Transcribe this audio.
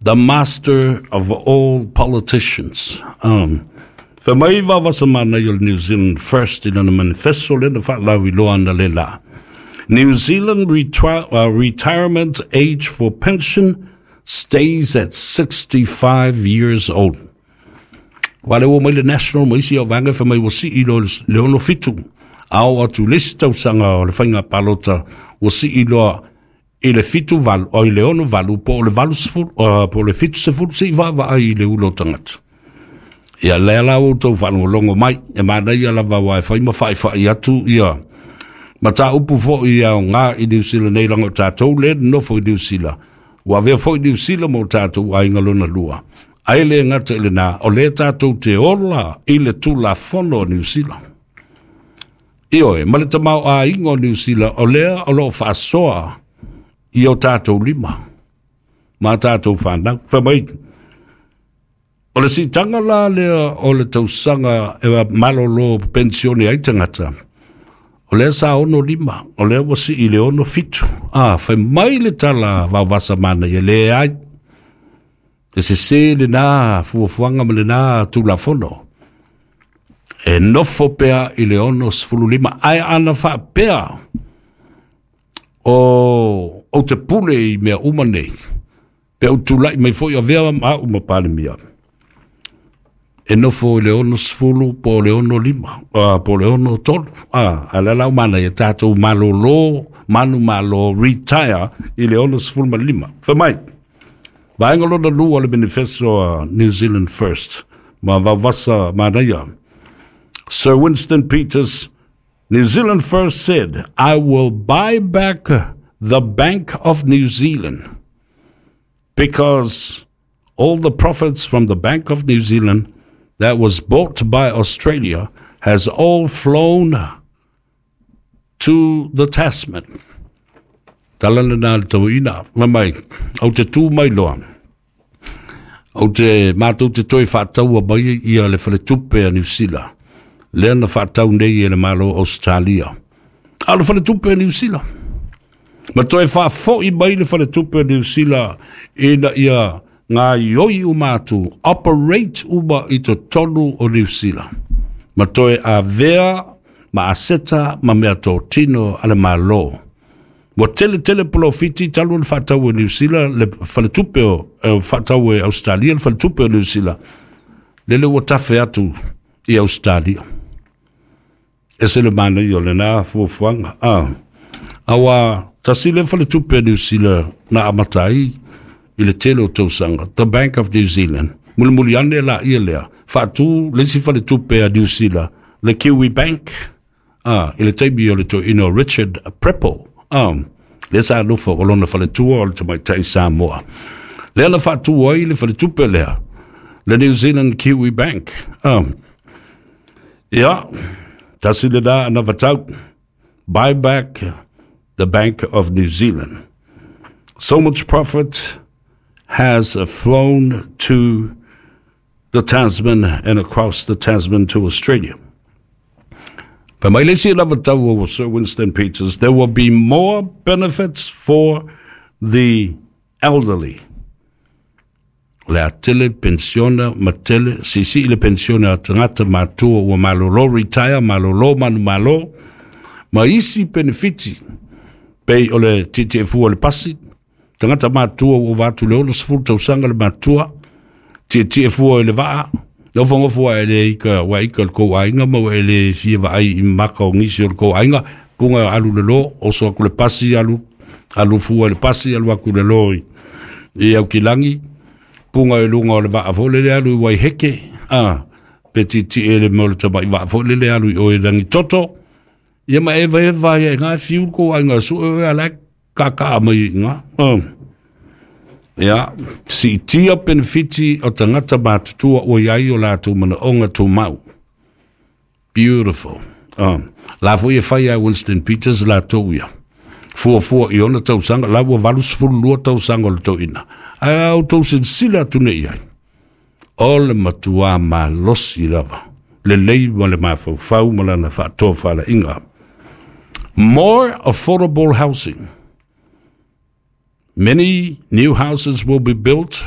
The master of all politicians. Fai mai Vaovasa Manaia o le New Zealand First i lana manifesto lea na faalauiloa analeila. New Zealand retirement age for pension stays at 65 years old. Aua lea ua omai le National ma isi au vaega fai mai ua sii loa i le 67. A oo atu i le isi tausaga o le faiga palota ua sii loa i le 78, o i le 68 po o le 80, po o le 70, se i vaavaai i le ula o tagata. Ia lea la ua outou faalogologo mai, e manaia lava aua e fai ma faifai atu ia mataupu foi e aoga i Niu Sila nei, leaga o tatou lea e nonofo i Niu Sila, ua avea foi Niu Sila ma o tatou aiga lona lua. Ae le gata i lena, o lea tatou te ola i le Tulafono o Niu Sila. Ioe, ma le tamaoaiga o Niu Sila, o lea o lo o faasoa i o tatou lima ma tatou fanau. Fai mai, o le siitaga la lea o le tausaga e malolo penisione ai tagata, o lea sa 65, o lea ua sii i le 67. A, fai mai le tala Vaovasa Manaia, leai, e sese lena fuafuaga ma lena Tulafono. E nofo pea i le 65, ae ana faapea o ou te pule i mea uma nei, pe ou tulai mai foi avea au ma Palemia, e nofo i le 60 po o le 65, po o le 63. A lea la ua manaia tatou malolo, manumalo, retire i le 65. Fai mai, vaega lona lua o le manifesto a New Zealand First ma Vaovasa Manaia. Sir Winston Peters, New Zealand First said, "I will buy back the Bank of New Zealand because all the profits from the Bank of New Zealand that was bought by Australia has all flown to the Tasman." Tala lena le tauina. Fai mai, ou te tu mai loa. Ou te matou te toe faataua mai ia le faletupe a Niu Sila. Lea na faatau nei e le Malo Australia. A o le faletupe a Niu Sila. Ma toe faafoi mai le faletupe a Niu Sila ina ia gaoioi uma atu, operate uma i totonu o Niu Sila. Ma toe avea ma aseta ma mea totino a le Malo. Ua tele tele polofiti talu ona faatau e Niu Sila le faletupe o faatau e Ausetalia le faletupe o Niu Sila. Lele ua tafe atu i Ausetalia. Ese le manaia o lena fuafuaga. Aua tasi le faletupe a Niu Sila na amata ai i le tele o tausaga, the Bank of New Zealand. Mulimuli ane la ia lea, faatu le isi faletupe a Niu Sila, le Kiwi Bank. I le taimi o le toeaina o Richard Prebble, lea sa nofo o lona faletua o le tamaitai Samoa. Lea na faatu ai le faletupe lea, le New Zealand Kiwi Bank. Ia, tasi lena anavatau, buy back the Bank of New Zealand. So much profit has flown to the Tasman and across the Tasman to Australia. Fai mai le isi anavatau o Sir Winston Peters, there will be more benefits for the elderly. O le a tele pensiona ma tele, siisii le pensione a tagata matua ua malolo, retire, malolo manumalo, ma isi penefiti, pei o le tietie fua o le pasi, tagata matua ua ova atu i le 60 tausaga le matua, tietie fua i le vaa, nofonofo ae le ika, ua ika le kou aiga ma ua e le fia vaai i maka o nisi o le kou aiga, puga alu le lo, oso atu le pasi, alu, alu fua i le pasi, alu atu le lo i Aukilagi, puga i luga o le vaa foi lele alu i Waiheke, pe tietie le mea o le tamai vaa foi lele alu i o i Rangitoto, ia ma evaeva ai e ngā fiu le kou aiga sue oe ala e kakaa mai i ngā. Ia, siitia penefiti o tagata matutua ua i ai o latou manaoga tumau. Beautiful. La foi e fai a Winston Peters latou ia. Fuafua i ona tausaga, la ua 82 tausaga o le toeaina. Ae a outou silasila atu nei i ai, o le matua malosi lava, lelei ma le mafaufau ma lana faatofalaiga. More affordable housing. Many new houses will be built.